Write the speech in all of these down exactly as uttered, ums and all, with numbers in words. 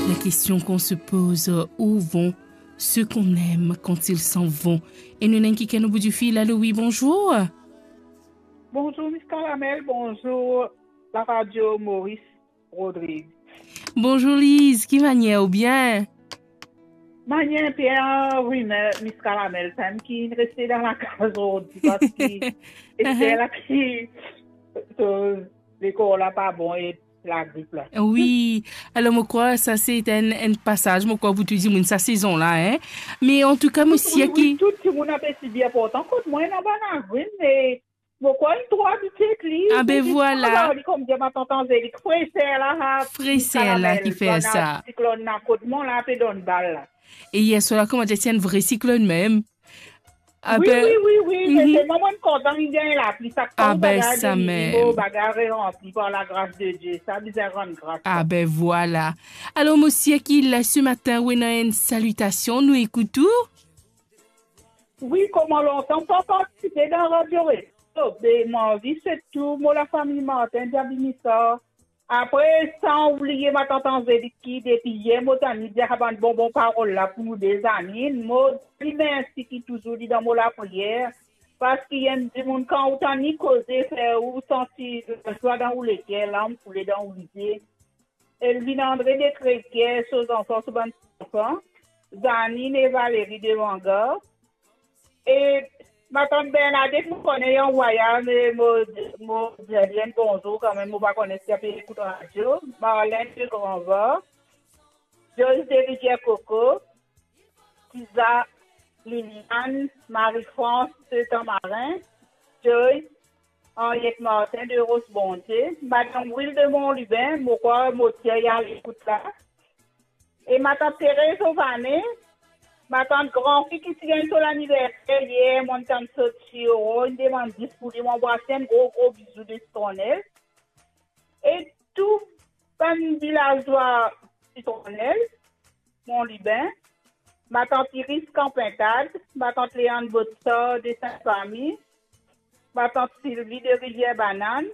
La question qu'on se pose, où vont ceux qu'on aime quand ils s'en vont? E nou ena enn kikenn o bout di fil. Alo, wi, bonzour. Bonzour, Miss Caramel, bonzour, la radio Maurice Rodrigue. Bonzour, Liz, ki manier, ou bien? Manier, Pierre, wi, me, Miss Caramel, sa mem ki reste dan lakaz zordi, parski Esther la ki, to, lekor la pa bon e lagrip la. Wi, alor mo krwar sa se enn, enn pasaz, mo krwar pou tou dimoun sa sezon la, en. Me antouka, mo sir ki tou dimoun ape sibi. Inportan kot mwa ena bann lagrip, me mo krwar li tro abitie ek li. Ah, be vwala. Li kouma dir matant Anzelik, freser la, ha, freser la ki fer sa. Siklonn la kot mwa la, pe donn bal la. E yer swar la, kouma dir, ti enn vre siklonn mem. Ah, wi, be, wi, wi, wi, me, mhm, selman mwa, mo kontan li gagn lapli, sa, ah, be, bagay sa mem. Mo bagay reranpli par lagras de Die, sa bizin rann gras. Ah, be, vwala. Alor, mo sir ki la, se matin, ou ena enn salitasion, nou ekout ou. Wi, kouma lontan pa partisipe dan Radio Resto, be, mo anvi swet tou mo lafami Martin Diaby Missard. Apre, san oubliye matant Anzelik ki depi yer mo tann li dir sa bann bonbon parol la pou nou de, Zanine. Mo dir li mersi ki touzour li dan mo lapriyer, parski enn dimoun, kan ou tann li koze, fer ou santi lazwa dan ou leker, larm koule dan ou lizie. Elvin Andre de Kreker, so zanfan, so bann zanfan, Zanine e Valerie de Vangar. E matant Bernadette, mo kone li an vwayaz, me mo, mo dir li enn bonzour kanmem, mo pa kone si li pe ekout radio. Marlène de Granvor, Joyce de Rivière Coco, Tiza, Liliane, Marie-France de Tamarin, Joyce, Henriette Martin de Roche Bondie, Madame Will de Montlubin, mo krwar mo tir li a lekout la, e matant Thérèse Ovane, matant granfi ki ti gagn so laniverser yer, mo tann sot si oro, inn demann dis pou li, mo anvway enn gro, gro bizou de Sitronel. E tou bann vilazwa Sitronel, Montlubin, matant Iris Kanpintad, matant Léanne Botsor de Sint-Fami, matant Sylvie de Rivière Banane.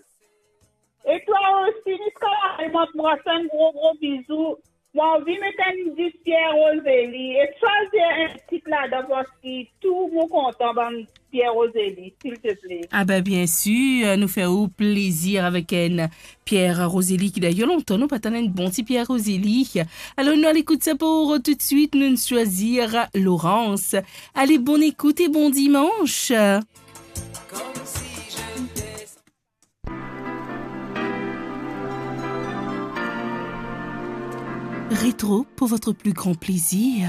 E twa osi, Miss Caramel, mo anvway enn gro, gro bizou. Mo anvi met enn dis Pierre Roselli e swazir enn tit ladan, parski tou mo kontan bann Pierre Roselli, silteple. Ah ben, bien sir, nou fer ou plezir avek enn Pierre Roselli, ki dayer lontan nou pa tann enn bon ti Pierre Roselli. Alor, nou al ekout sa pou toutswit, nou swazir Laurence. Ale, bonn ekout e bon dimans. Rétro pour votre plus grand plaisir.